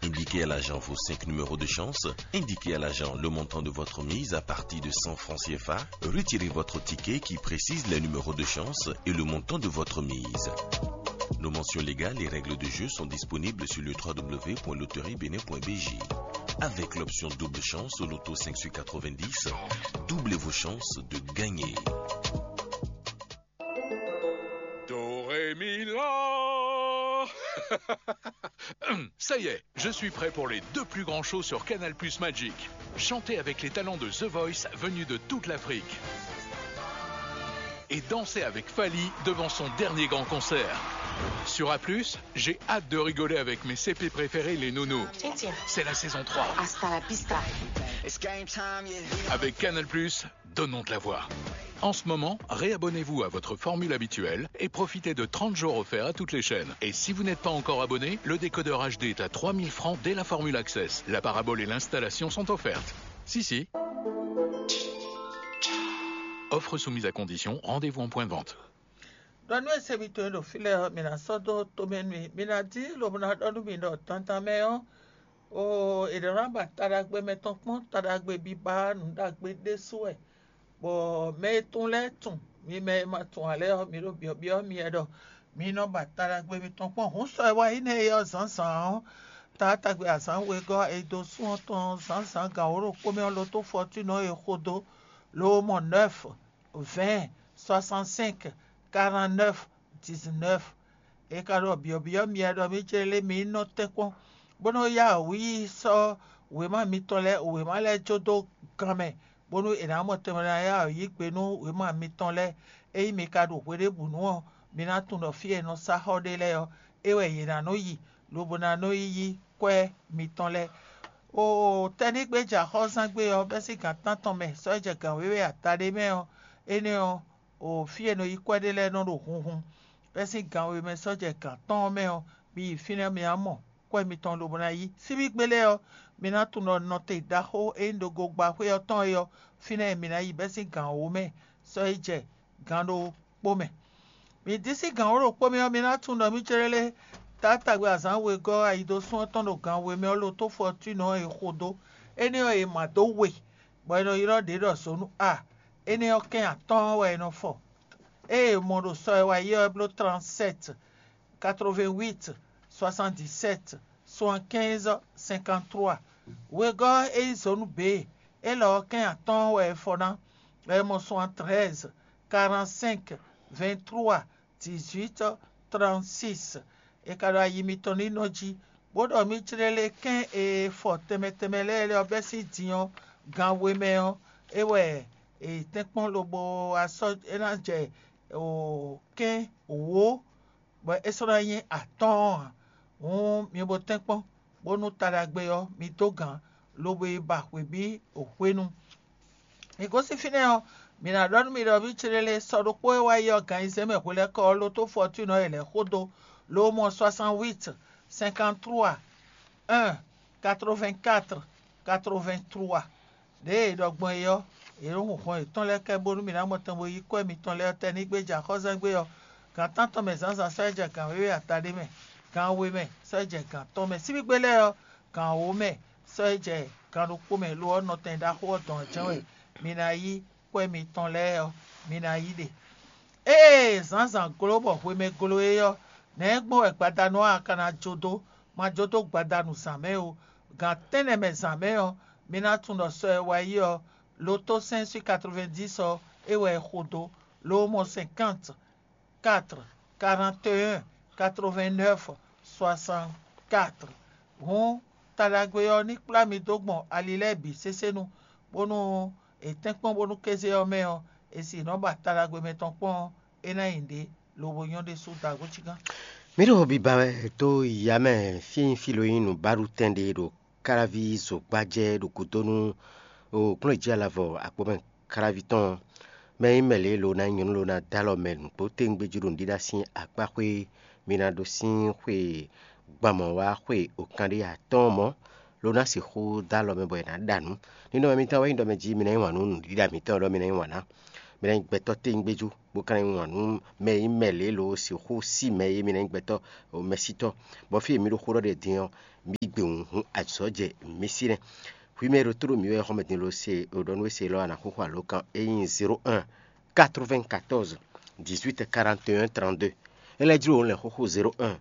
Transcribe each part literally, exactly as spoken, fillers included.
Indiquez à l'agent vos cinq numéros de chance. Indiquez à l'agent le montant de votre mise à partir de cent francs C F A. Retirez votre ticket qui précise les numéros de chance et le montant de votre mise. Nos mentions légales et règles de jeu sont disponibles sur le w w w point loterie bénin point b j. Avec l'option double chance au loto cinq sur quatre-vingt-dix, doublez vos chances de gagner. Do, ré, mi, la. Ça y est, je suis prêt pour les deux plus grands shows sur Canal Plus Magic. Chantez avec les talents de The Voice venus de toute l'Afrique. Et dansez avec Fally devant son dernier grand concert. Sur A plus, j'ai hâte de rigoler avec mes C P préférés, les Nounous. C'est la saison trois. Hasta la vista. Avec Canal Plus, donnons de la voix. En ce moment, réabonnez-vous à votre formule habituelle et profitez de trente jours offerts à toutes les chaînes. Et si vous n'êtes pas encore abonné, le décodeur H D est à trois mille francs dès la formule Access. La parabole et l'installation sont offertes. Si, si. Offre soumise à condition, rendez-vous en point de vente. Ɖɔ nú esebitɔn e ɖo fí lɛ́ɛ ɔ́, mi ná sɔ́ dó tomɛ nú mì. Mi ná dín lobo ná ɖɔ nú mi ɖɔ dandan mɛ ɔ́, oo, è nɔ ná ba taɖagbe mɛtɔn kpɔ́n, taɖagbe biba nǔ ɖagbe ɖésú wɛ, bɔ mɛ e tunwun lɛ́ɛ tunwun. Mi mɛ e ma tunwun ǎ lɛ́ɛ ɔ́, mi ɖo byɔ̌byɔ́ myɛ ɖɔ mi nɔ ba taɖagbe mitɔn kpɔ́n. Hǔn sɔ e wá yi nɛ́ é ɔ́ zǎnzǎn ɔ́, taatagbe azǎn wegɔ́ e dó sún ɔ́ tɔn zǎnzǎn gan wǒ ɖokpó mɛ ɔ́, lotó fɔtúnɔ e xo dó, loo mɔ nɛ́f vɛ̌ɛn, soixante-cinq, quarante-neuf, dix-neuf. É ka ɖɔ byɔ̌byɔ́ myɛ ɖɔ mì cé lé mi nɔ tɛ́nkpɔ́n, bó nɔ́ yá wǔ yi sɔ́ wěma mitɔn lɛ́ɛ wěma lɛ́ɛ jó dó gan mɛ, bónú è nǎ mɔ tɛnmɛ ná yá wǔ yi gbe nú wěma mitɔn lɛ́ɛ. Ényí mi ka ɖo hweɖěbǔnu ɔ́, mi ná tunwun ɖɔ fí e è nɔ sá xɔ ɖe lɛ́ɛ ɔ́, é wɛ yě ná nɔ yi, lobo ná nɔ yi yí kwɛ́ mitɔn lɛ́ɛ. Oo, tɛ́nígbe jɛ axɔ́zán gbe ɔ́, bɛ́ sín gǎn tántɔn mɛ sɔ́ jɛ gǎn wěwe ata ɖé mɛ ɔ́, énɛ́ ɔ́, o fí e è nɔ yí kwɛ́ ɖe lɛ́ɛ nɔ ɖo hunhun. Bɛ́ sín gan we mɛ sɔ́ jɛ gǎn tɔn ɔ́ mɛ ɔ́, mi yi fínɛ́ mi ná mɔ kwɛ́ mitɔn lobo ná yí. Síbígbe lɛ́ɛ ɔ́, mi ná tunwun ɖɔ nɔte ɖaxó e nyí ɖogogbáxwé ɔ́ tɔn é ɔ́, fínɛ́ mi ná yi bɛ́ sín gan wǒ mɛ sɔ́ yi jɛ gan ɖokpó mɛ. Mi dín sín gan wǒ ɖokpó mɛ ɔ́, mi ná tunwun ɖɔ mì céɖélé taátagbe azǎn wegɔ́ ayidosún ɔ́ tɔn ɖo gan we mɛ ɔ́ lo tó fɔtúnɔ e xo dó. Énɛ́ ɔ́, è ma dó we, bɔ è nɔ ylɔ́ ɖě ɖɔ zǒnú a. Énɛ́ ɔ́, kɛ́n atɔ́ɔ́n wɛ è nɔ fɔ. Ée è mɔ ɖo sɔ e wá yi ɔ́, é bló trente-sept, quatre-vingt-huit, soixante-dix-sept, soixante-quinze, cinquante-trois. Wegɔ́ e nyí zǒnú bě, élɔ́ ɔ́, kɛ́n atɔ́ɔ́n wɛ è fɔ ná, bɔ è mɔ soixante-treize, quarante-cinq, vingt-trois, dix-huit, trente-six. È ka ɖo ayi mitɔn ní nɔ jí, bó ɖɔ mì clélé kɛ́n e fɔ tɛnmɛ tɛnmɛ lɛ́ɛ lɛ́ɛ ɔ́ bɛ́ sín din ɔ́, gan we mɛ ɔ́, é wɛ è tɛ́nkpɔ́n lobo wá sɔ́ é ná jɛ o kɛ́n wǒ, bɔ é sɔ́ ná nyí atɔ́ɔ́n ǎ. Hǔn mi bo tɛ́nkpɔ́n, bónú ta ɖagbe ɔ́, mi dó gǎn, lobo yi ba hwebǐ hwenu. Mi gosín fínɛ́ ɔ́, mǐ ná ɖɔ nú mi ɖɔ mì clélé sɔ ɖokpó e wá yi ɔ́, gan ayizɛ́n mɛ hwelɛ́kɔ ɔ́ lótó fɔtúnɔ e lɛ̌ xó dó, lo mɔ soixante-huit, cinquante-trois, un, quatre-vingt-quatre, quatre-vingt-trois. Ɖěe è ɖɔ gbɔn é ɔ́, è nǒ hun hɔn yětɔn lɛ́ɛ kɛ bónú mǐ ná mɔ tɛn bo yí kwɛ́ mitɔn lɛ́ɛ ɔ́ tɛnígbe jɛ axɔ́sɛ́gbé ɔ́, gan tántɔn mɛ zǎnzǎn sɔ́ yi jɛ gan wěwe ata ɖé mɛ, gan we mɛ sɔ́ yi jɛ gan tɔn mɛ, síbígbe lɛ́ɛ ɔ́, gan wǒ mɛ sɔ́ yi jɛ gan ɖokpó mɛ, lo ɔ́, nɔtɛn ɖaxó ɔ́ dɔn ɔ́ jɛ́n wɛ mi ná yí kwɛ́ mitɔn lɛ́ɛ ɔ́, mi ná yí ɖe. Ée zǎnzǎn gló bɔ hwemɛ glo é ɔ́, nɛ̌ gbɔn wɛ gbadanu ɔ́ a ka ná jó dó? Ma jó dó gbadanu zǎn mɛ ó. Gan tɛ́nnɛ mɛ zǎn mɛ ɔ́, mi ná tunwun ɖɔ sɔ e wá yi ɔ́, loto cinq sur quatre-vingt-dix ɔ́, é wɛ è xo dó, lo mɔ cinquante, quatre, quarante et un, quatre-vingt-neuf, soixante-quatre. Hǔn, ta ɖagbe ɔ́ ní kplá mi dó gbɔn ali lɛ́ɛ bǐ sésé nu, bónú è tɛ́nkpɔ́n bónú kéze ɔ́ mɛ ɔ́, è si nɔ́ ba ta ɖagbe mɛtɔn kpɔ́n ɔ́, é ná nyi ɖě lobo nyɔ́ ɖésú dagó cígán. Mǐ ɖo biba wɛ dó ya mɛ fí e nyí fí lo nyí nǔbaɖutɛn ɖe ɖo káláví zogbájɛ ɖo gǔdo nú kplɔ́njí alavɔ akpɔ́mɛ káláví tɔn ɔ́. Mɛ e nyí mɛ lě lo ná nyí nyɔ̌nu lo ná dó alɔ mɛ nǔgbó téwúngbéjí ɖo nǔɖíɖá sín akpáxwé, mi ná ɖó sín xwe gban mɔ̌ wá xwe okanɖé atɔ́ɔ́n mɔ̌, lo ná sixú dó alɔ mɛ bɔ è nǎ ɖa nǔ. Ninɔmɛ mitɔn wɛ nyí ɖɔ mɛ jí mi ná yí wǎn nú nǔɖiɖa mǐtɔn ɖɔ mi ná yí wǎn ná. Mi ná nyí gbɛtɔ́ téwúngbéjú, bó ka ná nyí wǎn nú mɛ e nyí mɛ lě e lo sixú sí mɛ e mi ná nyí gbɛtɔ́ mɛsítɔ́, bɔ fí e mi ɖo xó ɖɔ ɖe din ɔ́, mi gbewǔhún azɔ̌ jɛ mi sí nɛ́. Hwi mɛ e ɖo tó ɖo mǐ wɛ xɔmɛ din lo se ɖɔ nú we se lɔ a nǎ xóxó alǒkan e nyí zéro un quatre-vingt-quatorze dix-huit quarante et un trente-deux. É lɛ́ jló wǒ lɛ̌n xóxó zéro un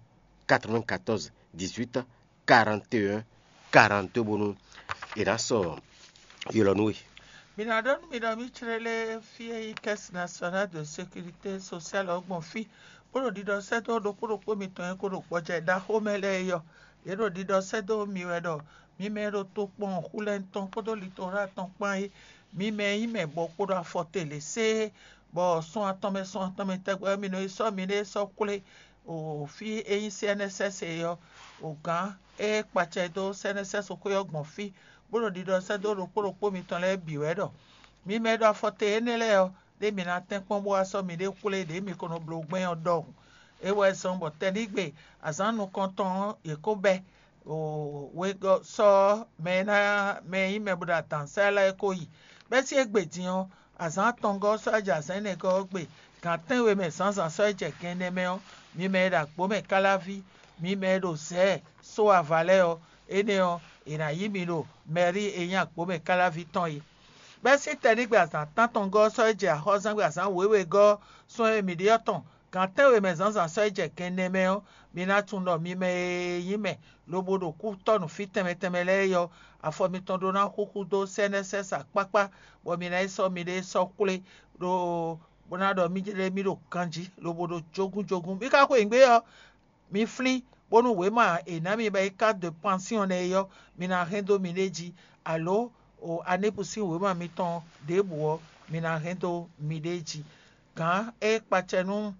quatre-vingt-quatorze dix-huit quarante et un quarante-deux bónú è nǎ sɔ ylɔ́ nú we. Mi ná ɖɔ nú mi ɖɔ mí chlé lé fí e nyí Caisse Nationale de Sécurité Sociale ɔ́ gbɔn fí, bó ɖo ɖiɖɔ sɛ́ dó ɖokpó ɖokpó mitɔn e ko ɖo gbɔjɛ ɖaxó mɛ lɛ́ɛ é ɔ́, yě ɖo ɖiɖɔ sɛ́ dó mi wɛ ɖɔ mi mɛ e ɖo tokpɔn Xulɛ́nu tɔn kpódó Litola tɔn kpán é, mi mɛ e nyí mɛ bɔ kpo ɖo afɔ te lě séé, bɔ sun atɔn mɛ sun atɔn mɛ tɛgbɛ ɔ́, mi nɔ yi sɔ́ miɖée sɔ́ xwlé o fí e nyí C N S S é ɔ́, o gǎn e kpacɛ dó C N S S xwé ɔ́ gbɔn fí, bó ɖo ɖiɖɔ sɛ́ dó ɖokpó ɖokpó mitɔn lɛ́ɛ bǐ wɛ ɖɔ mi mɛ e ɖo afɔ te énɛ́ lɛ́ɛ ɔ́, ɖé mi ná tɛ́nkpɔ́n bó wá sɔ́ miɖée xwlé ɖě mi ko nɔ bló gbɛn ɔ́ ɖɔhun. É wɛ zɔ́n bɔ tɛnígbe azǎn nukɔntɔn ɔ́, yě ko bɛ́ wegɔ́ sɔ́ mɛ e ná mɛ e nyí mɛ bó ɖo adǎnsá lɛ́ɛ ko yi. Bɛ́sín égbé din ɔ́, azǎn atɔngɔ́ ɔ́ sɔ́ jɛ azǎn énɛ́gɔ́ ɔ́ gbe, gǎn tɛ́nwe mɛ zǎnzǎn sɔ́ jɛ gɛnnɛ mɛ ɔ́, mi mɛ e ɖo agbǒ mɛ káláví, mi mɛ e ɖo zɛ̌ só ava lɛ́ɛ ɔ́, énɛ́ ɔ́, è nǎ yí mi ɖo mɛ̌rí e nyí agbǒ mɛ káláví tɔn é. Bɛ́sín tɛnígbe azǎn tántɔngɔ́ ɔ́ sɔ́ jɛ axɔ́zángbé azǎn wěwegɔ́ sɔ́ e mǐ ɖe ɔ́ tɔn, gǎn tɛ́nwe mɛ zǎnzǎn sɔ́ yi jɛ gɛnnɛ mɛ ɔ́, mi ná tunwun ɖɔ mi mɛ e nyí mɛ lobo ɖo kútɔ́ nǔ fí tɛnmɛ tɛnmɛ lɛ́ɛ é ɔ́, afɔ mitɔn ɖó ná xúxú dó sɛ́nɛ́sɛ́sa kpákpá, bɔ mi ná yi sɔ́ miɖée sɔ́ xwlé ɖó bó ná ɖɔ mí lɛ́ mí ɖo ganjí lobo ɖo jógúnjógún. Mi ka xweyǐgbe ɔ́, mi flín, bónú wěma e ná mi ba yi carte de pension nɛ́ é ɔ́, mi ná hɛn dó miɖée jí, alo o anípu sín wěma mitɔn ɖěbǔ ɔ́, mi ná hɛn dó miɖée jí. Gǎn e kpacɛ nú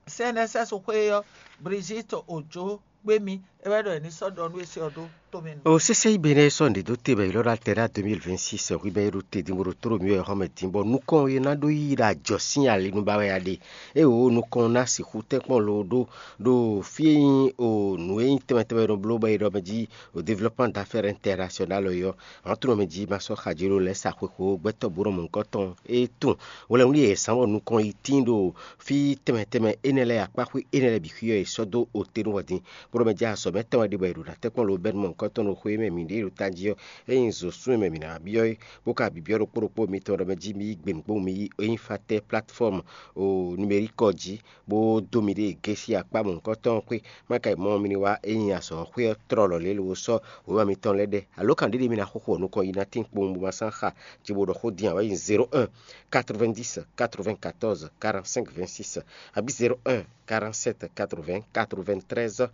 C N S S xwé ɔ́, Brigitte Ojo kpé mì, é wɛ ɖɔ è ní sɔ́ ɖɔ nú we se ɔ́ dó tomɛ nú. O sésé yi be nɛ sɔ́ nǔɖé dó te bɔ è ylɔ́ ɖó altɛ́ ɖá deux mille vingt-six hwi bɔ é ɖo te din bó ɖo tló mǐ wɛ xɔmɛ din bɔ nukɔn e ná ɖó yí ɖo ajɔ sín ali nu ba wɛ a ɖe. É wǒ nukɔn ná sixú tɛ́nkpɔ́n lo ɖó ɖo fí e nyí o nǔ e nyí tɛnmɛ tɛnmɛ nɔ bló bɔ è ɖɔ mɛ jí o développement d'affaires international ɔ́, ǎ tunɔ mɛ jí ma sɔ́ xají ɖó lɛ́ sa xwexwǒ gbɛtɔ́ bǔ nɔ mɔ̌hunkɔtɔn e tun. Wlɛ́nwlí e è zǎn bɔ nukɔn yi tíin ɖo fí tɛnmɛ tɛnmɛ énɛ́ lɛ́ɛ akpáxwé énɛ́ lɛ́ɛ bǐ xwíyɔ è sɔ́ dó ote nú hwɛdín, bó ɖɔ mɛ jɛ azɔ̌ mɛ tɛn wɛ ɖi bɔ è ɖo ɖo atɛ́kpɔ́n lo bɛ́ nú mɔ̌hunkɔtɔn ɖo xwé mɛ mǐ ɖe ɖo tají ɔ́, ényí zǒsún e mɛ mǐ ná byɔ́ é, bó ka byɔ́ ɖokpó ɖokpó mitɔn ɖɔ mɛ jí mi yí gbe nǔgbó mi yí ényí fatɛ́ platfɔ́mu o numerique ɔ́ jí, bó dó miɖée gěsi akpá mɔ̌hunkɔtɔn ɔ́ xwé, má ka yi mɔ mi ní wá ényí azɔ̌ xwé ɔ́ tlɔ́ lɔ̌ lě lo sɔ́ wěma mitɔn lɛ́ɛ ɖɛ. Alo kan ɖé ɖé mi ná xóxó ɔ́ nukɔn yi ná tín kpowun bó ma sán xa, cíbo ɖɔ xó din ǎ wɛ nyí zéro un quatre-vingt-dix quatre-vingt-quatorze quarante-cinq vingt-six, abǐ zéro un quarante-sept quatre-vingts quatre-vingt-treize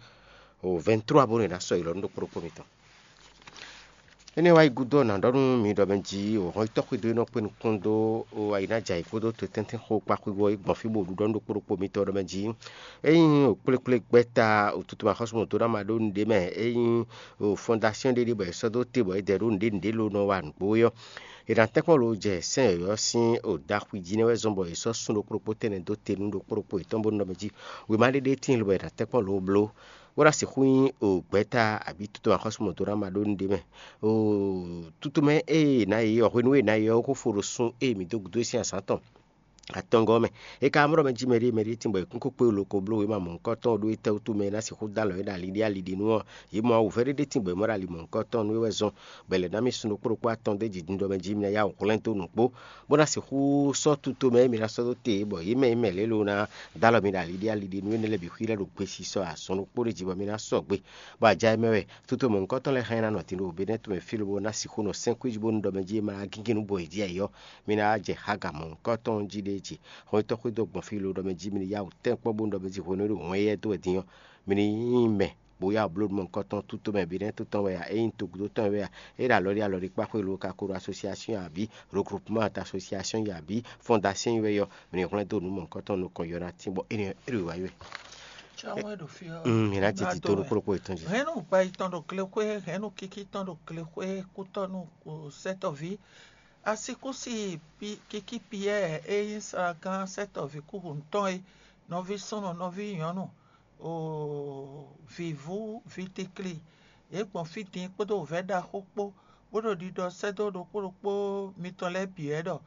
vingt-trois bónú è nǎ sɔ́ yi lɔ nú ɖokpó ɖokpó mitɔn. Énɛ́ wá yi gúdo ɔ́, nǎ ɖɔ nú mi ɖɔ mɛ jí o hɔn yi tɔ́ xwedó e nɔ kpé nukún dó o ayi ná jɛ ayǐ kpódó to tɛ́ntɛ́n xó kpá xwíwɔ é gbɔn fí bó ɖu ɖɔ nú ɖokpó ɖokpó mitɔn ɖɔ mɛ jí. Ényí o kplékplé gbɛ́ta o tutu ma xɔ́sú mɔ̌ dó ná ma ɖó nǔɖé mɛ, ényí o fɔndasíɔn ɖé ɖé bɔ è sɔ́ dó te bɔ è dɛ ɖó nǔɖé nǔɖé ló nɔ wa nǔgbó é ɔ́, è nǎ tɛ́nkpɔ́n lo jɛ sɛ́n yɔ̌yɔ́ sín o ɖaxwi jí nɛ́ wɛ zɔ́n bɔ è sɔ́ sun ɖokpó ɖokpó tɛnɛ dó te nú ɖokpó ɖokpó yětɔn bónú ɖɔ mɛ jí wěma ɖé ɖé tíin lobɔ è nǎ tɛ́nkpɔ́n lo bló, bó ná sixú nyí o gbɛ̌ta abǐ tutu axɔ́sú mɔ̌ dó ná ma ɖó nǔɖé mɛ. O tutu mɛ e è nǎ yi ɔ́, hwenu e è nǎ yi ɔ́, xó fo ɖo sun e mǐ dó gǔdo sín azǎn tɔn atɔngɔ́ mɛ. É ka mlɔ́ mɛ jí mɛɖé mɛɖé tín bɔ è kún kó kpé lo ko bló wěma mɔ̌hunkɔtɔn ɖó étɛ́ wútu mɛ e ná sixú dó alɔ é ɖo ali ɖé ali ɖé nú ɔ́, yě mɔ awu vɛ́ɖéɖé tín bɔ è mɔ ɖo ali mɔ̌hunkɔtɔn nú é wɛ zɔn, bɔ è lɛ̌ ná mì sun ɖokpó ɖokpó atɔn dó jǐ din ɖɔ mɛ jí mi ná yá wǔ hwlɛ́n dó nǔgbó, bó ná sixú sɔ́ tuto mɛ e mi ná sɔ́ dó te é, bɔ yě mɛ e mɛ lě lo ná dó alɔ mi ɖo ali ɖé ali ɖé nú énɛ́ lɛ́ɛ bǐ xwí lɛ́ɛ ɖo gbesisɔ azɔn ɖokpó ɖé jí bɔ mi ná sɔgbe, bɔ aja e mɛ wɛ tuto mɔ̌hunkɔtɔn lɛ́ɛ hɛn ná nɔ din ɖo Benɛ́ tomɛ fí lobo ná sixú nɔ sɛ́n kwíji bónú ɖɔ mɛ jí e ma ná gígín nú bo è jí ayǐ ɔ́, mi ná jɛ Haga mɔ̌hunkɔtɔn jí ɖé jí. Hɔn nyitɔ́ xwedó gbɔn fí lo ɖɔ mɛ jí mi ní yá wǔ tɛ́nkpɔ́n bónú ɖɔ mɛ jí hwenu e ɖo hwɛn éyɛ́ dó wɛ din ɔ́, mi ní nyí mɛ bó yá wǔ bló nú mɔ̌hunkɔtɔn tuto mɛ Benɛ́ to tɔn wɛ a, é nyí togúdo tɔn wɛ a, é ɖo alɔ ɖé alɔ ɖé kpá xwé lo ka ko ɖo asosiasyon abǐ regroupement d'asosiasyon yi abǐ fondasyon yi wɛ yɔ, mi ní hwlɛ́n dó nǔ mɔ̌hunkɔtɔn nukɔn yɔ ná tín bɔ énɛ́ é ɖo wǎ yi wɛ. Tsɔ́ wɛn ɖo fí ɔ́. Mm, mi ná jɛ tito ɖo kplɔ́kplɔ́ yětɔn jí. Hɛ̌nnu gbɛyitɔn ɖo glexwé, hɛ̌nnu kikitɔn ɖo glexwé, kútɔ́nú sɛ́tɔ́ví. Asíkúsi kikí Piyɛ́ɛ e nyí slagán sɛ́tɔ́ví kúhunutɔn é, nɔví súnnu, nɔví nyɔ̌nu, o vǐvú, vítíklí, yě gbɔn fí din kpódó wǔvɛ́ ɖaxó kpó, bó ɖo ɖiɖɔ sɛ́ dó ɖokpó ɖokpó mitɔn lɛ́ɛ bǐ wɛ ɖɔ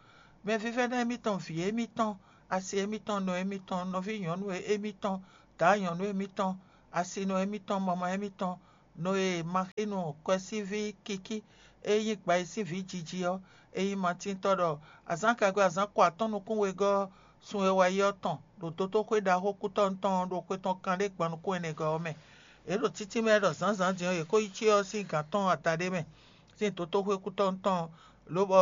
Mɛvívɛ́ná émítɔn, vǐ émítɔn, asi émítɔn, nɔ émítɔn, nɔví nyɔ̌nu émítɔn, dǎ nyɔ̌nu émítɔn, asinɔ émítɔn, mama émítɔn, nɔ e ma xí nu kwɛ́síví kíkí e nyí gbayísínví jiji ɔ́, é nyí Matíntɔ́ ɖɔ azǎn kagbe azǎn ko atɔ́ɔ́n nukún wegɔ́ ɔ́, sun e wá yi ɔ́ tɔn ɖo dotóxwé ɖaxó kútɔ́nú tɔn ɔ́ ɖo xwe tɔn kanɖé gban nukún ɛnɛgɔ́ ɔ́ mɛ. Yě ɖo títí mɛ ɖɔ zǎnzǎn din ɔ́, yě kó yi cyɔ ɔ́ sín gǎn tɔn adaɖé mɛ sín dotóxwé kútɔ́nú tɔn, lobɔ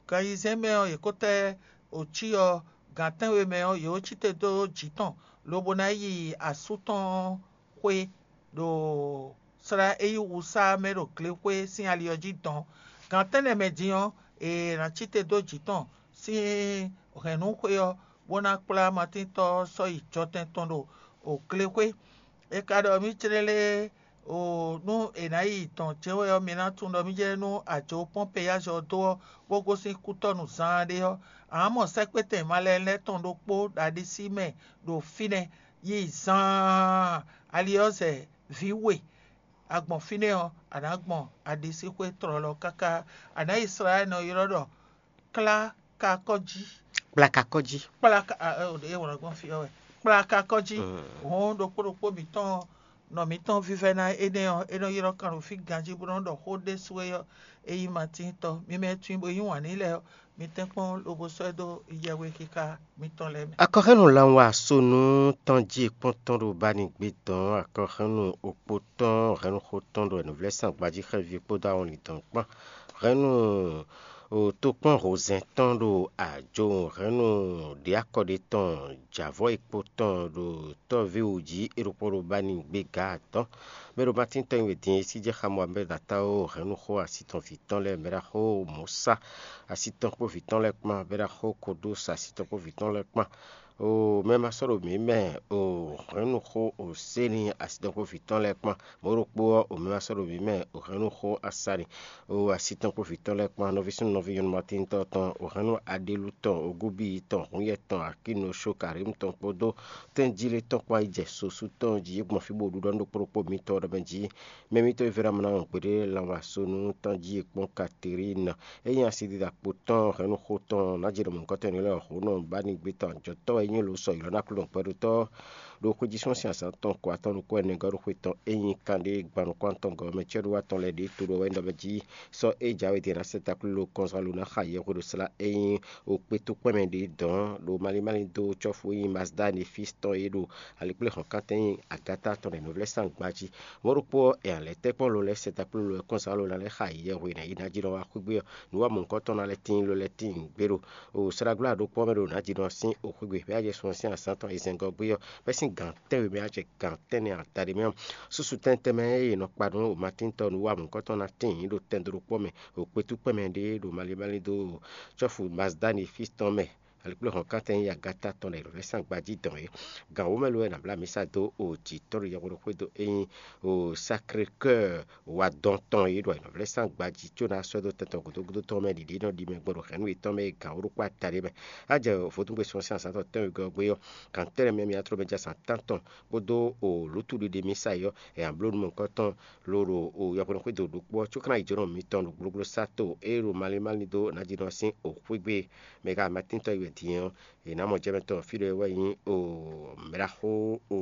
gan ayizɛ́n mɛ ɔ́, yě kó tɛ́ wǒcyɔ gǎn tɛ́nwe mɛ ɔ́, yě wǒ cí te dó jǐ tɔn, lobo ná yi asú tɔn xwé ɖo slá e nyí wusá mɛ ɖo glexwé sín ali ɔ́ jí dɔ̌n. Gan tɛ́nnɛ mɛ din ɔ́, è nǎ cí te dó jǐ tɔn sín hɛ̌nnúxwé ɔ́, bó ná kplá Matíntɔ́ ɔ́ sɔ́ yi jɔtɛn tɔn ɖo glexwé. È ka ɖɔ mì clélé nú è nǎ yi dɔ̌n jɛ́n wɛ ɔ́, mi ná tunwun ɖɔ mì jɛ́n nú ajo Pɔ́npeyázi ɔ́ dó ɔ́, bó gosín kútɔ́nu zaanɖé ɔ́, a nǎ mɔ sɛ́kpétɛn malɛnu lɛ́ɛ tɔn ɖokpó ɖo aɖisí mɛ ɖo fínɛ́, yi zaan ali ɔ́ zɛ vǐ we. A gbɔn fínɛ́ ɔ́, a nǎ gbɔn aɖisíxwé tlɔlɔ káká. A nǎ yi slá e nɔ ylɔ́ ɖɔ klákakɔ́ jí. Kplakakɔ́ jí. Kplaka a, ɛ, ɛ, wlǎn gbɔn fí ɔ́ wɛ. Kplakakɔ́ jí. Hɔn ɖokpó ɖokpó mǐtɔn nɔ mǐtɔn vívɛ́ná énɛ́ ɔ́, é nɔ ylɔ́ kan ɖo fí ganjí bó nɔ́ ɖɔ xó ɖésú é ɔ́, é nyí Matín tɔn. Mi mɛ e tunwun bó yí wǎn n'i lɛ́ɛ ɔ́, mi tɛ́nkpɔ́n lobo sɔ́ ɛ dó yɛhwexixa mitɔn lɛ́ɛ mɛ. Akɔxɛ́nu lanwɛ asonu tɔn jí kpɔ́ntɔn ɖo Banigbé dɔn akɔxɛ́nu okpo tɔn hɛ̌nnuxó tɔn ɖo nǔvlɛ́sangbají xɛví kpódó awɔnlin dɔn kpán. Hɛ̌nnu tokpɔ́n hozɛn tɔn ɖo ajo hɛ̌nnu ɖě akɔɖe tɔn jǎvɔ́ e kpo tɔn ɖo tɔ́ví wǔ jí é ɖokpó ɖo Banigbé gǎ atɔ́. Mɛ ɖo Matín tɔn e din e sí jɛ xá Moabɛ́d atáwó hɛ̌nnuxó asi tɔn vǐ tɔn lɛ́ɛ, mɛ ɖaxó Mɔ̌sá asi tɔn kpó vǐ tɔn lɛ́ɛ kpán, mɛ ɖaxó Kodóos asi tɔn kpó vǐ tɔn lɛ́ɛ kpán. O mɛ ma sɔ́ ɖo mǐ mɛ o hɛ̌nnuxó o séni asi tɔn kpó vǐ tɔn lɛ́ɛ kpán. Mɔ̌ ɖokpó ɔ́, o mɛ ma sɔ́ ɖo mǐ mɛ o hɛ̌nnuxó asani o asi tɔn kpó vǐ tɔn lɛ́ɛ kpán. Nɔví súnnu nɔví nyɔ̌nu Matín tɔn tɔn o hɛ̌nnu Aɖelú tɔn o Gúbíi tɔn Hǔnyɛ tɔn Akínosó Karǐmu tɔn kpódó tɛ́njílé tɔn kpán yi jɛ sosú tɔn jí gbɔn fí bó ɖu ɖɔ nú ɖokpó ɖokpó mitɔn ɖɔ mɛ jí mɛ mitɔn e vɛ́ ná mɔ ná wɔn gbeɖé lanwɛ asonu tɔn jí e kpɔ́n Katerína. É nyí asidida kpo tɔn hɛ̌nnuxó tɔn ná jɛ nɔ mɔ̌hunkɔtɔn lɛ́ɛ hǒnɔ bá ní gbé tɔn ajɔ̌tɔ́ wɛ é nyí lǒ sɔ ylɔ́ ná kplɔ́n gbɛɖótɔ́ ɖo xwéjísɔ́n sín azǎn tɔn ko atɔn nukún ɛnɛ gɔ́ ɖo xwe tɔn é nyí kanɖé gban nukún atɔn gɔ́ mɛ cɛ́ɖú atɔn lɛ́ɛ ɖě to ɖo wɛ ɖɔ mɛ jí sɔ́ é jǎwe din ná sɛ taklúlo kɔnzán lo ná xa yɛhwe ɖo slá é nyí okpétúkpɛ́nmɛ ɖě dɔ̌n ɖo malín málín dó cɔ́fu e nyí Mazda Nefis tɔn é ɖo alikpléhɔ̌nkántɛn e nyí Agáta tɔn ɖo nǔvlɛ́sán gbají. Mɔ̌ ɖokpó ɔ́, è nǎ lɛ́ tɛ́ kpɔ́n lo lɛ́ɛ sɛ taklúlo lɛ́ɛ kɔn zǎn lo ná lɛ́ xa yi yɛhwe ná yi ná jí nɔ wá xwé gbé ɔ́, nǔwanmɔ̌hunkɔtɔn ná lɛ́ tíin lo lɛ́ɛ tíin gbé ɖo o slágbla ɖokpó ɔ́ mɛ ɖo nǎ jí nɔ sín o xwé gbe bɛ́ á jɛ sun ɔ́ sín azǎn tɔn e zɛngɔ́ gbé ɔ́, bɛ́ sín gǎn tɛ́nwe mɛ á jɛ gǎn tɛ́nnɛ adaɖé mɛ ɔ́. Súsu tɛ́ntɛ́n mɛ e è nɔ kpa nú o Matín tɔn nǔwanmɔ̌hunkɔtɔn ná tíin ɖo tɛn dó ɖokpó mɛ o kpétúkpɛ́nmɛ ɖé ɖo malín málín dó cɔ́fu Mazdáni fí tɔn mɛ. Alikpléhɔ̌nkántɛn nyí Agáta tɔn ɖo ayǐhɔ́ngbe sín agbají dɔn é. Gan wǒ mɛ lo wɛ è nǎ blá amǐsa dó o jǐ tɔn ɖo yɛhweɖo xwédo e nyí o Sacré-Cœur wa dɔn tɔn é ɖo ayǐhɔ́ngbe sín agbají có ná sɔ́ dó tɛn tɔn gǔdo gúdo tɔn mɛ ɖiɖe nɔ ɖi mɛ gbɔn ɖo hɛ̌nnu yětɔn mɛ e gan wǒ ɖokpó ata ɖé mɛ. Á jɛ vodúngbe sɔ́ sín azǎn tɔn tɛ́nwegɔ́ ɔ́ gbé ɔ́, gan tɛ́nnɛ mɛ mǐ ná tló mɛ jɛ azǎn tántɔn kpódó o lǔtúɖiɖe mísa é ɔ́, è nǎ bló nú mɔ̌hunkɔtɔn ló ɖo o yɔhwenu xwédo ɖokpó ɔ́ có ná yi jǒnɔ mitɔn ɖo gblogblo sá to e ɖo malín málín dó nǎjínɔ sín o xwé gbe. Mɛ e ka Matíntɔ́ yi wɛ din ɔ́, è nǎ mɔ jɛmɛ tɔn fí ɖé wɛ nyí o mɛɖaxó o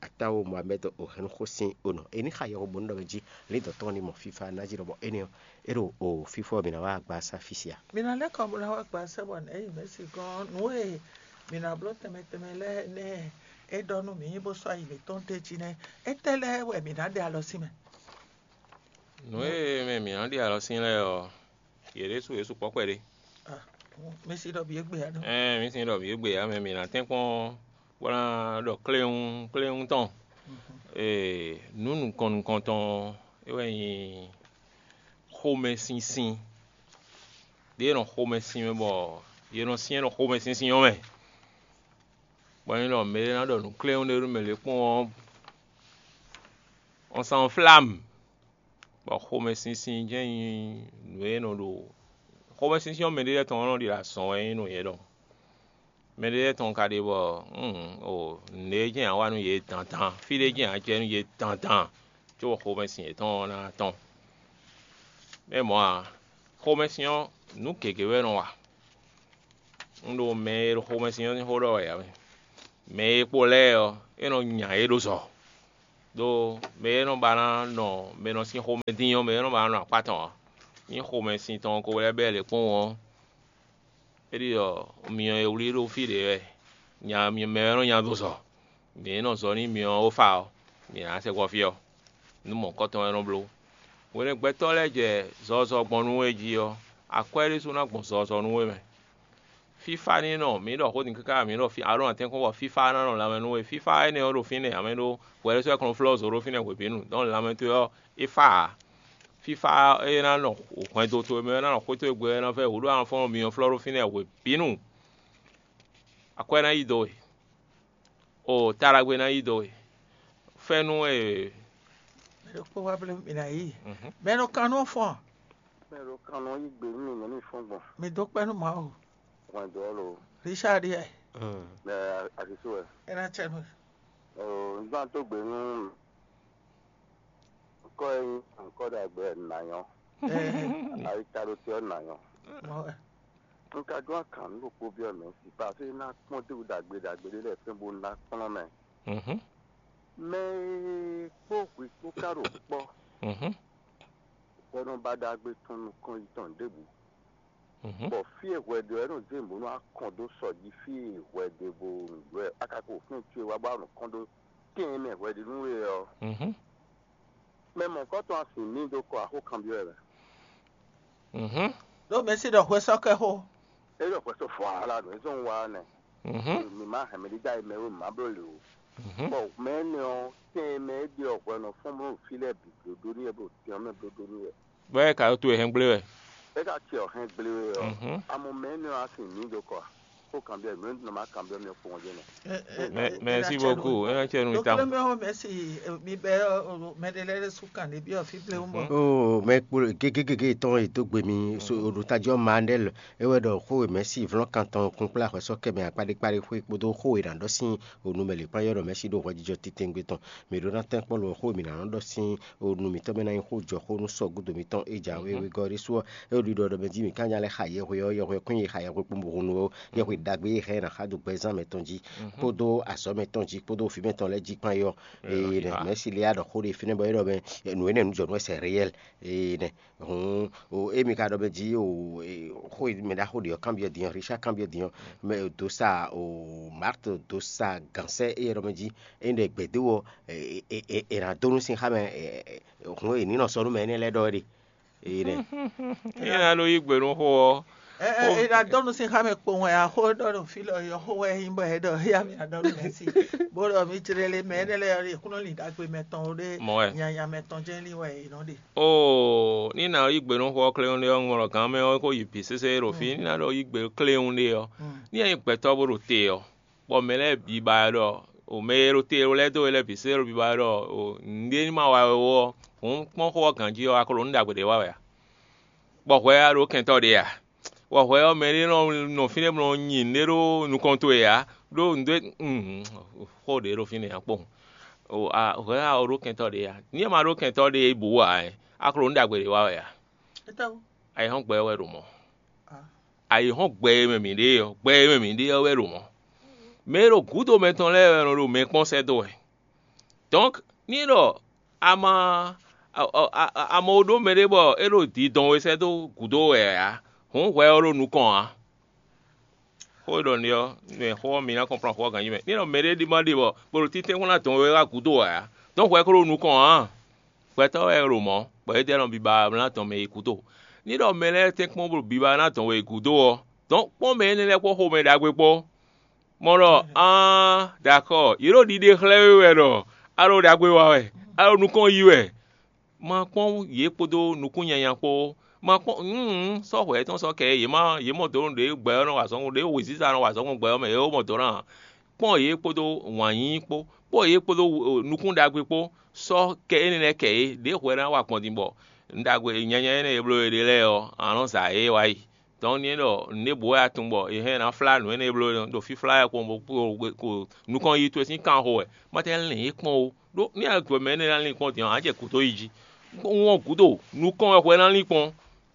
atáwo Mohamɛ́d o hɛ̌nnu xó sín o nɔ. È ní xa yɔhɔn bónú ɖɔ mɛ jí lǐndɔ̌n tɔn ní mɔ fífá ná jí ɖɔ bɔ énɛ́ ɔ́, é ɖo o fífó ɔ́ mǐ ná wá gba sá fí sia. Mǐ ná lɛ́ kɔ bó ná wá gba sɛ́ bɔ nɛ̌ yi mɛ̌si gɔ́n nǔ e mǐ ná bló tɛnmɛ tɛnmɛ lɛ́ɛ nɛ́ é ɖɔ nú mǐ bó sɔ́ ayi mǐtɔn d'é jí nɛ́. Étɛ́ lɛ́ɛ wɛ mǐ ná ɖe alɔ sín mɛ? Nǔ e mɛ mǐ ná ɖe alɔ sín lɛ́ɛ ɔ́, yě ɖésú yě sukpɔ́ kpɛɖé. Ah, mɛ si ɖɔ bǐ égbé ǎ nɔ. Ɛɛ, mǐ sin ɖɔ mǐ égbé ǎ mɛ mǐ ná tɛ́nkpɔ́n bó ná ɖɔ kléwún kléwún tɔn. Ee, nǔ nukɔn nukɔntɔn é wɛ nyí xomɛsinsin. Ɖě e nɔ xomɛsin mɛ bɔ yě nɔ syɛ́n nɔ xomɛsinsin ɔ́ mɛ. Bɔ nyí ɖɔ mɛ e ná ɖɔ nǔ kléwún ɖé nú mɛ lě kpɔ́n ɔ́, ɔ́ sán flam. Bɔ xomɛsinsin jɛ́n nyí nǔ e nɔ ɖo xomɛsinsin ɔ́ mɛ ɖé lɛ́ɛ tɔn ɔ́ nɔ ɖi ɖo azɔn wɛ nyí nú yě ɖɔhun. Mɛ ɖé lɛ́ɛ tɔn ka ɖe bɔ o nǔɖé jɛ́n ǎ wa nú yě dandan, fí ɖé jɛ́n ǎ jɛ nú yě dandan, có bɔ xomɛsin yětɔn ɔ́ ná tɔn. Mɛ mɔ̌ ǎ, xomɛsin ɔ́, nǔ gěgé wɛ é nɔ wa. Un ɖo mɛ e ɖo xomɛsin ɔ́ sín xó ɖɔ wɛ ǎ mɛ. Mɛ e kpo lɛ́ɛ ɔ́, é nɔ nya yě ɖo zɔ. Đó mɛ e nɔ ba ná nɔ mɛ nɔ sín xomɛ dín ɔ́, mɛ e nɔ ba ná nɔ akpá tɔn ǎ. Nyí xomɛsin tɔn ko lɛ́ɛ bɛ́ lě kpɔ́n ɔ́, é ɖi ɖɔ myɔ e wlí ɖó fí ɖě wɛ. Nya mɛ wɛ nɔ nya dó zɔ. Mɛ e nɔ zɔ n'i myɔ ɔ́ fa ɔ́, mǐ ná sɛkpɔ́ fí ɔ́. Nǔ mɔ̌hunkɔtɔn wɛ é nɔ bló. Hwenu e gbɛtɔ́ lɛ́ɛ jɛ zɔzɔ gbɔn nú we jí ɔ́, akwɛ́ ɖésú ná gbɔn zɔzɔ nú we mɛ. Fífá ní nɔ mǐ ɖɔ xó din káká mǐ ɖɔ fí alɔ atɛ́nkpɔ́n bɔ fífá ná nɔ lanmɛ nú we. Fífá énɛ́ ɔ́ ɖo fínɛ́ amɛ ɖó hwɛ ɖésú wɛ kɔn flɔ́ zǒ ɖó fínɛ́ hwebǐnu. Dɔn lanmɛ towe ɔ́, é fá ǎ. Fífá é ná nɔ hwɛndo towe mɛ, é ná nɔ xwé towe gbe, é ná vɛ́ wǔ ɖó anɔfɔ́n myɔ flɔ́ ɖó fínɛ́ hwebǐnu. Akwɛ́ ná yi dó we. O taɖagbe ná yi dó we. Fɛ́nú e. Mɛ ɖokpó wá blé mì ná yí. Mɛ nɔ kan nú fɔn. Mɛ ɖo kan nɔ yí gbe nú mì nɛ̌ mi fɔ́n gbɔn. Mi dó kpɛ́ nú Mawu. Hwɛndo ɔ́ lo. Richard yɛ. Mɛ asisu wɛ. É ná tsɛ nú. O n gbán tó gbe nú kɔ e nyí ankɔ ɖagbe nà nyɔ. Ayi ta ɖo te ɔ́ nà nyɔ. Mɔ wɛ. Un ka dó akǎn nú ɖokpó byɔ́ mɛ si, bɔ afí ná kpɔ́n déwú ɖagbe ɖagbe ɖé lɛ́ɛ fɛ́n bó ná kplɔ́n mɛ. Mɛ e kpó hwi kpó ka ɖo kpɔ́, bɔ nɔ ba ɖagbe tɔn nukɔn yi tɔn ɖěbǔ, bɔ fí e hwɛ ɖe ɔ́ é nɔ zé mɔ̌ nú akɔn dó sɔ jí fí e hwɛ ɖe bo nǔ ɖɔ wɛ, a ka ko fɛ́n cyɔ e wá bɔ a nɔ kɔn ɖó tɛn e mɛ hwɛ ɖe nú we ɔ́. Mɛ mɔ̌hunkɔtɔn a sin ní dó kɔ axó kanbyɔ́ wɛ mɛ. Ɖó mɛ sí ɖɔ hwe sɔ́ kɛ xó. É ɖɔ hwɛ sɔ́ fɔ ala nǔ e zɔn wá nɛ. Mi má hɛn mɛ ɖé dó ayi mɛ wé má bló lě o. Bɔ mɛ énɛ́ ɔ́, tɛn e mɛ é ɖe ɔ́ hwɛ nɔ fɔ́n bló fí lɛ́ɛ bǐ blóɖó n'i wɛ bó tɛn ɔ́ mɛ blóɖó n'i wɛ. Bɔ é ka ɖo to e hɛn gblé wɛ. É ka ce ɔ́ hɛn gblé wɛ ɔ́, amɔ mɛ énɛ́ ɔ́ a sin ní dó kɔ a? Xó kanbyɔ́ nǔ e nɔ má kanbyɔ́ mì ɔ́ kpowun jɛ́n nɛ. Merci beaucoup, é ná cɛ nú mi tawun. Mɛ ɔ́ mɛ si mi bɛ mɛ ɖé lɛ́ɛ sú kan ɖé byɔ́ fí blé wú mɔ. Oo, mɛ kpo gégégégé tɔn e dó gbe mi so ɖo tají ɔ́ Mandel é wɛ ɖɔ xó e mɛ̌si vlɔ́n kan tɔn kun kplá hwɛsɔ́ kɛ mɛ akpáɖékpáɖé xwé kpódó xó e nǎ ɖɔ sín onú mɛ lě kpán yɔ́ ɖɔ mɛ̌si ɖo hwɛjijɔ titewungbe tɔn. Mǐ ɖó ná tɛ́nkpɔ́n lo xó e mǐ ná nɔ ɖɔ sín onú mǐtɔn mɛ ná nyí xó jɔ xó nú sɔ́ gúdo mǐtɔn é jǎwe wegɔ́ ɖésú ɔ́, é ɖo ɖiɖɔ ɖɔ mɛ jí mǐ ká nya lɛ́ xa yɛhwe ɔ́, yɛhwe kún yi xa yɛhwe kpún bo hun nú ó, yɛhwe ɖagbe e hɛn ná xa dó gbɛzán mɛtɔn jí kpódó azɔ̌ mɛtɔn jí kpódó vǐ mɛtɔn lɛ́ɛ jí kpán é ɔ́. Ee nɛ mɛ̌si lé ɖɔ xó ɖé fínɛ́ bɔ é ɖɔ mɛ nǔ énɛ́ nǔ jɔ nú wɛ sɛ réyɛl. Ee nɛ hǔn o émi ka ɖɔ mɛ jí o xó e mɛ ɖaxó ɖě ɔ́ kanbyɔ́ din ɔ́, Richard kanbyɔ́ din ɔ́, mɛ dó sa o Marthe dó sa gǎnsɛ éyɛ́ ɖɔ mɛ jí é ɖɛ gbědó ɔ́, è nǎ dó nú sin xá mɛ hǔn e ní nɔ sɔ́ nú mɛ énɛ́ lɛ́ɛ ɖɔ wɛ ɖe. Ee nɛ. Ényí a ɖo yí gbe nú xó ɔ́, Ɛ ɛ ɛ ɖa dɔnu sin xá mɛ kpowun wɛ axó ɖɔ ɖo fí lɔ yɔ xó wɛ nyí bɔ ɛ ɖɔ ya mi adɔ nú mɛ si bó ɖɔ mi jlé lé mɛ énɛ́ lɛ́ɛ ɔ́ kúnɔ lin ɖagbe mɛtɔn ó ɖé Mɔ wɛ. Nyanya mɛtɔn jɛ́n lin wɛ è nɔ ɖe. Oo, ní nǎ yí gbe nú xó ɔ́ kléwún ɖé ɔ́, un wlɔ gǎn mɛ ɔ́ kó yi bǐ sésé ɖo fí, ní ná ɖɔ yí gbe kléwún ɖé ɔ́, ní ɛ nyí gbɛtɔ́ bó ɖo te ɔ́, bɔ mɛ lɛ́ɛ bǐ ba ɛ ɖɔ o mɛ e ɖo te lɛ́ɛ dó we lɛ́ɛ bǐ sésé ɖo bǐ ba ɛ ɖɔ o nǔɖé ní ma wa wɛ ó ɔ́, hǔn kpɔ́n xó ɔ́ ganjí ɔ́, a ko ɖo nǔ ɖagbe ɖě wa wɛ a? Bɔ hwɛ a ɖǒ kɛntɔ́ ɖě a? Bɔ hwɛ ɔ́, mɛ ɖé nɔ nɔ fínɛ́ bɔ nɔ nyi nǔɖé ɖó nukɔn towe ǎ, ɖó nǔɖé xó ɖě ɖo fínɛ́ ǎ kpɔ́n. Hwɛ a ɔ ɖó kɛntɔ́ ɖě a? Ní e ma ɖó kɛntɔ́ ɖě bǔ ǎ, a ko ɖo nǔ ɖagbe ɖě wa wɛ a? Ayǐhɔ́ngbe ɔ́ wɛ ɖo mɔ̌. Ayǐhɔ́ngbe e mɛ mǐ ɖe ɔ́, gbe e mɛ mǐ ɖe ɔ́ wɛ ɖo mɔ̌. Mɛ e ɖo gǔdo mɛtɔn lɛ́ɛ wɛ nɔ ɖo mɛ kpɔ́n sɛ́ dó wɛ. Donc ní ɖɔ a ma a ma ɖó mɛɖé bɔ é ɖo dǐdɔn we sɛ́ dó gǔdo wɛ ǎ, hǔn hwɛ ɔ́ ɖo nukɔn ǎ. Xó e ɖɔ n'i ɔ́, mɛ xó ɔ́ mi ná kɔnplɔ́n xó ɔ́ ganjí mɛ. Ní ɖɔ mɛɖé ɖi ma ɖe bɔ bó ɖo títɛ́n xó ná dɔn we wá gǔdo wɛ ǎ, dɔn hwɛ ko ɖo nukɔn ǎ. Gbɛtɔ́ wɛ ɖo mɔ̌, bɔ é ɖɔ nɔ biba ná dɔn mɛ yi gǔdo. Ní ɖɔ mɛ lɛ́ɛ tɛ́nkpɔ́n bó ɖo biba ná dɔn we yi gǔdo ɔ́, dɔn kpɔ́n mɛ énɛ́ lɛ́ɛ kpó xomɛ ɖagbe kpó. Mɔ ɖɔ: Aan, ɖo akɔ, yě ɖo ɖiɖe xlɛ́ we wɛ ɖɔ a ɖo ɖagbe wa wɛ, a ɖo nukɔn yi wɛ. Ma kpɔ́n yě kpódó nukún nyanya kpó. Ma kpɔ́n nǔ sɔ́ hwɛ yětɔn sɔ́ kɛ yě má yě mɔ dǒ ɖě gbɛ ɔ́ nɔ wa azɔn ɖě wěziza nɔ wa azɔn gbɔn gbɛ ɔ́ mɛ yě mɔ dǒ ná. Kpɔ́n yě kpódó wǎn yíyí kpó, kpɔ́n yě kpódó nukún ɖagbe kpó, sɔ́ kɛ énɛ́ lɛ́ɛ kɛ yě, ɖěvo wɛ ná wa gbɔn din bɔ nǔ ɖagbe nyanya énɛ́ e bló we ɖe lɛ́ɛ ɔ́, a nǎ nɔ za yě wá yi. Dɔn ní é ɖɔ nǔɖé bǔ wɛ a tunwun bɔ è hɛn ná flá nǔ énɛ́ e bló ɖo fíflá wɛ kpɔn bó kpo nukɔn yi towe sín kan xo wɛ, má tɛ́ lɛn yě kpɔ́n ó. Ɖó ní a gbɔ mɛ énɛ́ ná lín kpɔ́n din ɔ́, a jɛ gǔdo yi jí. Wɔn gǔdo, nukɔn wɛ hwɛ ná lín kpɔ́n.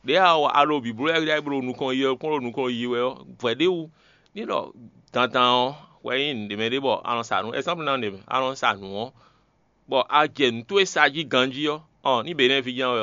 Ɖě a wa a ɖo bǐbló wɛ a ɖo nukɔn yi wɛ kpɔ́n ɖo nukɔn yi wɛ ɔ́, vɛ̌ ɖé wú. Ylɔ́ dandan ɔ́ hwɛ nyí nǔɖé mɛ ɖé bɔ a nɔ sa nǔ, ɛ́sámplu ná nǔɖé mɛ, a nɔ sa nǔ ɔ́, bɔ a jɛ nǔ towe sa jí ganjí ɔ́, ɔ ní Benɛ́ɛ ví jɛ́n wɛ